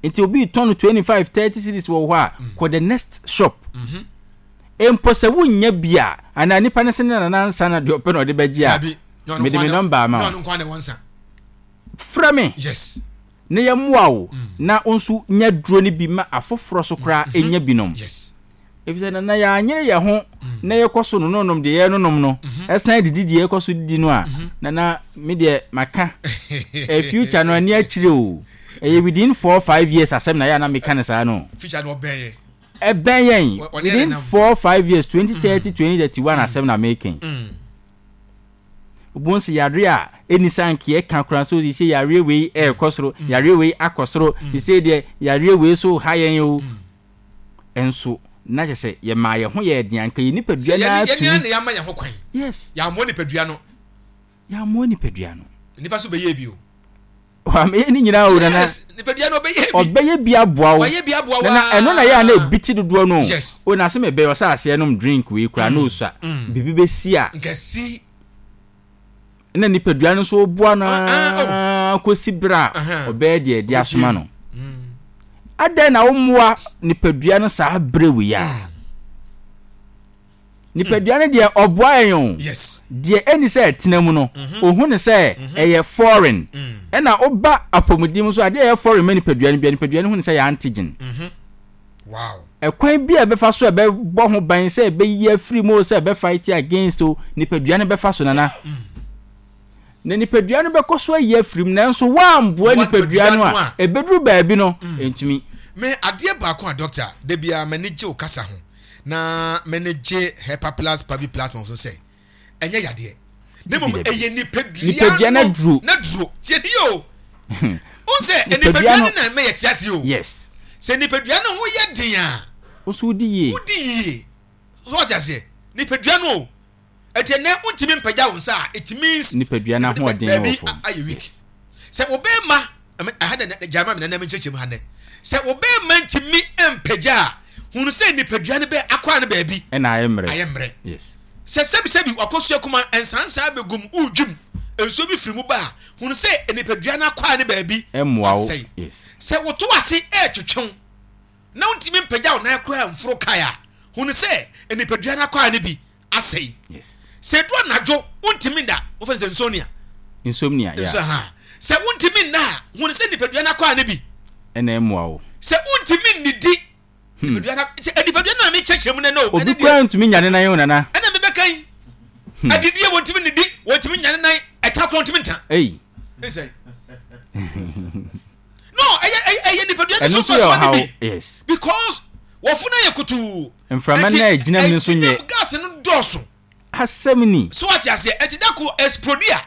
Nti obi retɔn no 25, 30 cedis wɔ hɔ a, kɔ the next shop. Mpo sɛ wonnya bi a, anaa nipa no se ne nana nsa na deɛ ɔpɛ na ɔde bɛgye a, Dabi, na ɔno mede nko me ara na nɔmba ama na wo. ɔno nko ara na ɛwɔ nsa. Frɛ me Yes. na yɛmmoa wo na wo nso nya duro no bi ma afoforɔ so koraa nya binom. Yes. Efisɛ na na yɛanyere yɛn ho na yɛkɔ so nononom deɛ yɛnonom no, ɛsan didi deɛ yɛkɔ so didi no a, na na me deɛ maka eh, future no ani akyire o. Ɛyɛ within 4, 5 years asɛm na yɛ a na meka no saa no. Future no ɔbɛn yɛ. Ɛbɛn yɛn Ɔne yɛn within nenam. 4, 5 years, 2030, 2031 asɛm na meka yi. Wobɛhu sɛ yareɛ a ɛnni sɛ anka yɛka koraa nso sɛ yareɛ wei ɛrekɔ soro, yareɛ wei akɔ soro, sɛ deɛ yareɛ wei so ha yɛn o. Nso na kyerɛ sɛ yɛmaa yɛn ho yɛɛ den anka yɛn nipadua Sɛ no yɛne ara yɛne tumi. ara na yɛama yɛn ho kwan. Yɛammoa nipadua no. Yɛammoa nipadua no. Nipa so bɛyɛ bi o. Wamɛyɛ ne nyinaa o, Nana. Yes, nipadua no ɔbɛyɛ bi. Ɔbɛyɛ bi aboa wo. Wayɛ bi aboa wo Nana, ɛno na yɛ a na ebi ti dodoɔ no. O na sɛ mebɛyɛ ɔsɛ aseɛ nom drink wei koraa na osua. Biribi bɛsi a. Nkɛsi. Na nipadua no nso boa no Ah, ah, oh. ara kɔsi berɛ a ɔbɛyɛ deɛ ɛde asoma no. Adɛn na wommoa nipadua no saa berɛ wei a? Nipadua no deɛ ɔboa yɛn o. Deɛ ɛni sɛ ɛtena mu no, ohu ne sɛ ɛyɛ foreign. Ɛna woba apɔmuden mu nso adeɛ a ɛyɛ foreign ma nipadua no bia, nipadua no hu ne sɛ ɛyɛ antigen. Ɛkwan bi a ɛbɛfa so a ɛbɛbɔ ho ban sɛ ɛbɛyi afiri mu o, sɛ ɛbɛfight against o, nipadua no bɛfa so, Nana. Na nipadua no bɛkɔ so ayi afiri mu, nanso woamboa nipadua no a, ɛbɛduru baabi no, ɛntumi. Me adeɛ baako a doctor, da biara m'ani gye wo kasa ho na m'ani gye Hepaplus Paviplus ho sɛ ɛnyɛ yadeɛ na mmom ɛyɛ nipadua Nipadua no aduro. N'aduro. Tie ni o. Wohu sɛ nipadua no na ɛma yɛte ase o. Sɛ nipadua no ho yɛ den a, Wo nso wodi yie. Wodi yie. So wate aseɛ? Nipadua no o. Ɛti ɛnɛ wontumi mpagya wo nsa a, it means nipadua no ahoɔden baabi wɔ fam. Ayɛ weak. Sɛ wo bɛrima, ɛha dɛ gyae ma me nana menkyerɛkyerɛ mu ha nnɛ. Sɛ wo bɛrima ntumi mpagya a, hunu sɛ nipadua no bɛ akwaa no baabi ɛna ayɛ mmerɛ. Ayɛ mmerɛ. Sɛ sɛbisɛbi wakɔsua kuma nsansaa bɛgum, woredwim, nsuo bi firi mu ba a, hunu sɛ nipadua no akwaa no baabi ɛmmoa wo. Asɛe. Sɛ woto ase ɛretwetwe wo na wontumi mpagya wo nan koraa mforo kae a, hunu sɛ nipadua no akwaa no bi asɛe. Sɛ edu anadwo wontumi nda, wɔfrɛ no sɛ insomnia. Insomnia, yeah. Nso ha. Sɛ wontumi nna a, hunu sɛ nipadua no akwaa no bi ɛna ɛmmoa wo. Sɛ wontumi nnidi, nipadua no sɛ nipadua no na mekyerɛkyerɛ mu nɛ no. Obi koraa ntumi nya ne nan o, Nana. Ɛna mebɛka yi. Adidie wɔntumi nnidi, wɔntumi nya ne nan, ɛta koraa wɔntumi nta. Ei. Ɛsɛ. No, ɛyɛ ɛyɛ nipadua no Ɛno so nso yɛ mfasoɔ no ɔhaw. bi. Because wɔfunu ayɛ kutuu. Mframa no a ɛgyina mu no nso nyɛ. Ɛgyina mu gas no dɔɔso. Asɛm ni. So wate aseɛ? Ɛnti da koro explode a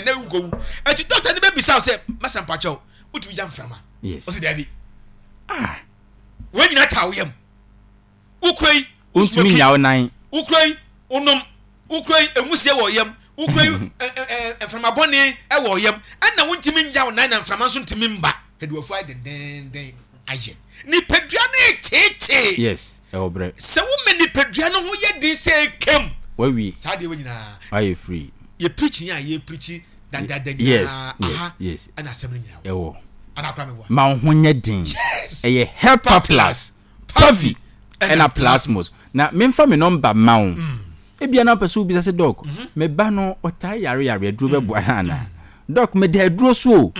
na wokɔwu. Ɛnti doctor no bɛbisa wo sɛ masa mpakyɛw wotumi gya mframa? Ɔsi daabi. Ah. Wɔn nyinaa taa wo yam. Wokura yi, Wontumi wosmoki. nya wo nan. Wokura yi, wonom. Wokura yi, nwusie wɔ yam. Wokura yi, mframa bɔne wɔ yam. Ɛna wontumi nya wo nan na mframa nso ntumi mba. Ɛde wafu ayɛ dendenden ayɛ. Nipadua no reteetee. Yes, ɛwɔ brɛ. Sɛ woma nipadua no ho yɛ den sɛ ekam. Wawie. Saa adeɛ wɔ nyinaa. Wayɛ free. Yɛ preaching a yɛ preaching dadaada nyinaa. Aha ɛna asɛm no nyinaa wɔ. Ɛwɔ. Ana akora meboa. Ma wo ho nyɛ den. Ɛyɛ Helper Plus, Pavi ɛna Plasmos. Na memfa me nɔmba mma wo. Ebia na wopɛ sɛ wobisa sɛ, Dɔk, me ba no ɔtaa yare yare, aduro bɛboa no anaa? Dɔk, meda aduro so o.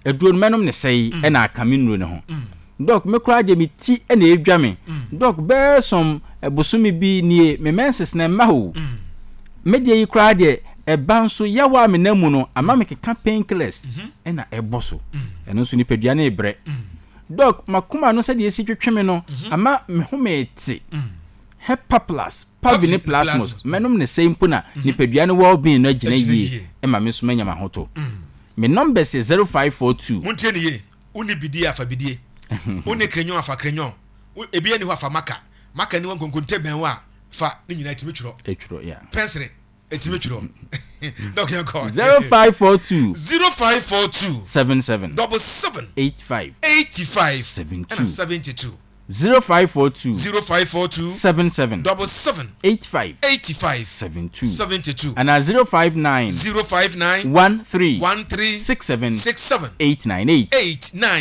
Aduro no mɛnom no sɛe ɛna aka me nnuro no ho. Dɔk, me koraa deɛ me ti na ɛredwa me. Dɔk, bɛyɛ some bosome bi nie, me menses no ɛmma o. Me deɛ yi koraa deɛ ɛba nso yaw a menam mu no ama mekeka painkillers ɛna ɛbɔ so. Ɛno nso nipadua no rebrɛ. Dɔk, m'akoma no sɛdeɛ ɛsi twetwe me no ama me home rete. Hepaplus, Pavi ne Plasmos, mɛnom no sɛi mpo na nipadua no well being no agyina yie ma me nso manya m'ahotɔ. Me numbers yɛ 0542. Montie no yie, wonni bidie a fa bidie, wonni krenyon a fa krenyon, wo ebi nni hɔ a fa maka, maka nni hɔ nkonkonte bɛn wo a fa, ne nyinaa ɛtumi twerɛ. Ɛtwerɛ, yeah. Pɛnsere ɛtumi twerɛ. Dɔk yɛn kɔ. 0542. 0542. 77. 77. 85. 85. 72. Ɛna 72. 0542. 0542. 77. 77. 85. 85. 72. 72. Anaa 059. 059. 13. 13. 67. 67. 898. 89.